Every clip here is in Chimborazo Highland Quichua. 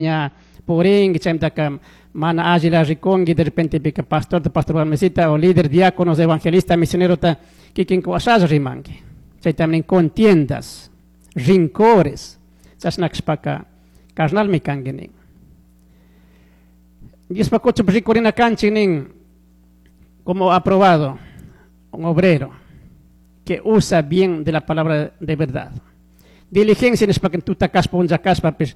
Ña purinki, chaymantaka mana allila rikunki, de repente pika pastorta, pastor warmisita o líder, diáconos, evangelista, misionerota kikinka washalla rimanki. Chaytami nin contiendas, rincores, chashna kashpaka carnalmi kanki nin. Diospa kuchupi rikurina kanchik nin como aprobado un obrero que usa bien de la palabra de verdad. Diligencia nishpaka tuta kashpa, punlla kashpapish,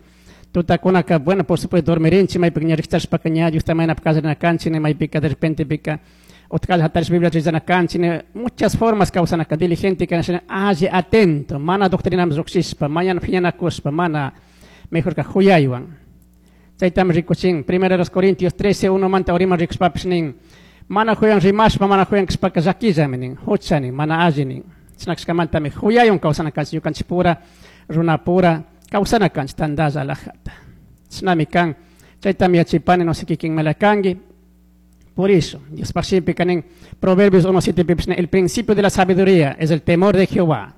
tutakunaka, bueno, por supuesto dormirinchik, maypika ña rikchashpaka ña Diosta mañanapi kallarina kanchik, maypika de repente pika utkalla hatarish Biblia rezana kanchik, muchas formas kawsanaka, diligente kana shina alli atento, mana doctrinaman llukshishpa, mañana phiñanakushpa, mana mejorka juyaywan. Chaytami rikuchin, Primera de los Corintios 13, 1 manta uriman rikushpapish nin, mana juyan rimashpa, mana juyan kashpaka llakillami nin, hucha nin, mana alli nin. Chashna kashkamantami juyaywan kawsana kanchik, ñukanchik pura, runa pura, kawsana kanchik tandalla alajata. Chashnami kan, chaytami yachipani, no sé kikin mela kanki. Por eso, Diospaj shimipika nin, Proverbios 1.7 pipish nin, el principio de la sabiduría es el temor de Jehová.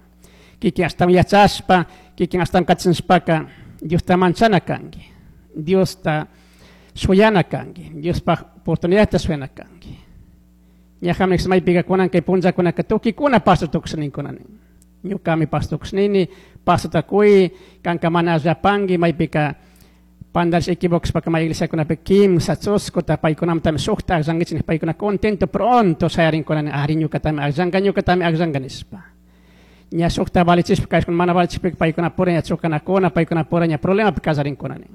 Kikin ashtawan yachashpa, kikin ashtawan kachishpaka, Diosta manchana kanki, Diosta shuyana kanki, Diospaj oportunidadta shuyana kanki. Ñajami maypika kunan kay punllakunaka tukikuna pastor tukusha ninkuna nin. Ñukami pastor tukusha nini, pastorta kuy, kanka mana allapanki, maypika pandarish equivocashpaka may iglesiakunapi kimsa chuskuta paykunamantami shukta akllankichik nishpa paykuna contento pronto shayarinkuna nin, ari ñukatami akllanka, ñukatami akllanka nishpa. Ña shukta valichishpa kayshkuna mana valichishpika paykuna pura ña chocanakuna, paykuna pura ña problemapi kallarinkuna nin.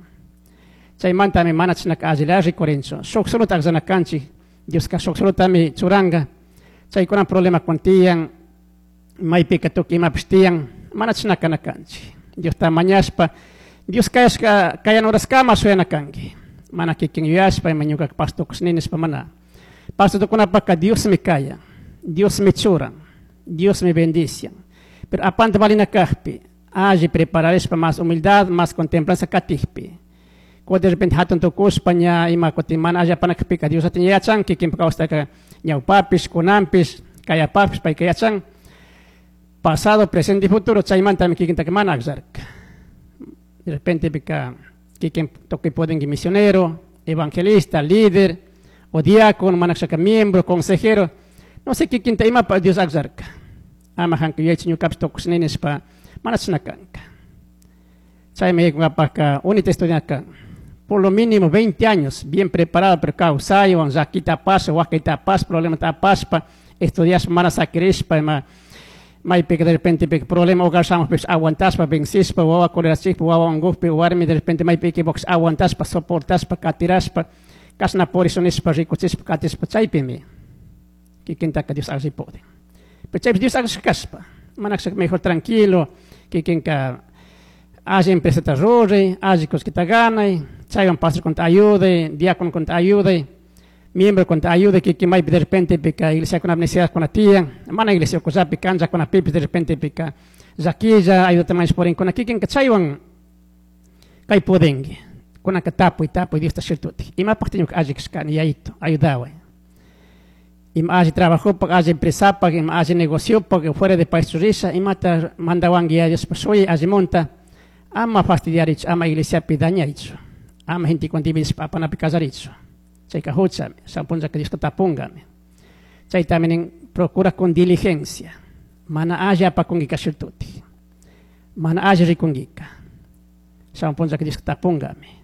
Chaymantami mana chishnaka allila rikurinchu. Shuk solota akllana kanchik, Dioska shuk solotami churanka. Chaykuna problema tiyan, maypika tukuy imapish tiyan, mana chashna kana kanchik. Diosta mañashpa, Dios kayashka kayan horaskama shuyana kanki. Mana kikin yuyashpa, ima ñukaka pastor tukushni nishpa mana. Pastor tukunapaka Diosmi kayan, Diosmi churan, Diosmi bendician. Pero apante valina kajpi, alli prepararishpa más humildad, más contemplanza katikpi. Kutin de repente hatun tukushpa ña ima kutin mana alli apanakpika Dios atin yachan, kikinpa kawsaytaka ñawpapish, kunanpish, kayapajpish payka yachan. Pasado, presente y futuro, chaymantami kikintaka mana akllarka. De repente pika kikin tukuy pudinki misionero, evangelista, líder, o diácono, mana kashaka miembro, consejero, no sé kikinta imapa Dios akllarka. Ama hanka yuyaychi ñukapish tukushni nishpa mana chashna kanka. Chaymi yaykunkapajka unita estudianaka por lo mínimo 20 años, bien preparado, pero kawsaywan, llakita apashpa, wakayta apashpa, problemata apashpa, estudiashpa, mana sakirishpa, ima maypika de repente pika problema hogar shamupish aguantashpa, vencishpa, wawa colerachikpi, wawa unkukpi, warmi de repente maypi equivocashpa, aguantashpa, soportashpa, katirashpa, kashna purishun nishpa, rikuchishpa, katishpa, chaypimi kikintaka Dios alli pudin. Pero chaypi Dios akllashka kashpa, mana kashaka mejor tranquilo, kikinka alli empresata ruray, alli kullkita ganay, chaywan pastor kunta ayuday, diácono kunta ayuday, miembro kunta ayuday, kikin maypi de repente pika iglesiakunapi necesidadkuna tiyan, mana iglesia ukullapi canchakunapipis de repente pika llakilla, ayudata mañash purinkuna, kikinka chaywan kay pudinki. Kunanka tapuy, tapuy Diosta shirtutik. Imapajta ñuka alli kashkani, yayito, ayudaway. Ima alli trabajopak, alli empresapak, ima alli negociopak, fuera de país risha, imata mandawanki ya Diospa shuyay allimunta, ama fastidiarichu, ama iglesiapi dañarichu, ama gentekunawan dividishpa apanapi kallarichu. Chayka huchami, shan punllaka Dioska tapungami. Chaytami nin, procura con diligencia, mana alli apakunkika shirtutik, mana alli rikunkika, shan punllaka Dioska tapungami.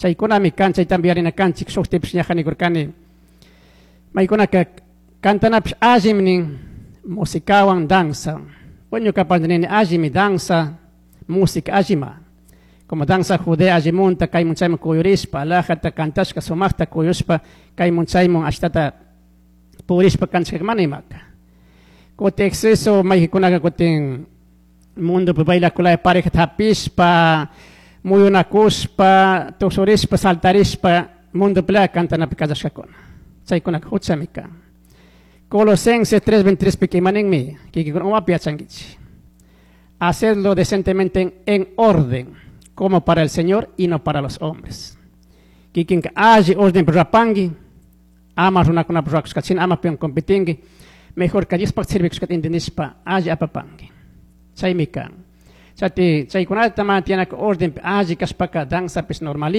Chaykunami kan, chaytami yarina kanchik, shuktipish ñaja nikurkani, maykunaka cantanapish allimi nin, musikawan danza. Bueno, ñukapaj nini allimi danza, música allima. Como danza judea allimunta, kaymun chaymun kuyurishpa, alajata cantashka sumaqta kuyushpa, kaymun chaymun ashtata purishpa kantashka mana imaka. Kutin exceso maykikunaka kutin mundopi bailakulaya parejata hapishpa, muyunakushpa, tusurishpa, saltarishpa, mundopilaya cantanapi kallashkakuna. Chaykunaka huchami kan. Colosenses 3:23 pika imaninmi, kikikuna umapi yachankichik. Hacedlo decentemente en orden, como para el Señor y no para los hombres. Kikinka alli orden rapangi, ama runakunapak rurakushkachina, ama piwan competingi, mejor ka Diospaj sirvikushkata entendishpa alli apapangi. Chaymi kan. Chati chaykunata mana tiyanaka orden alli kashpaka danzapish normal.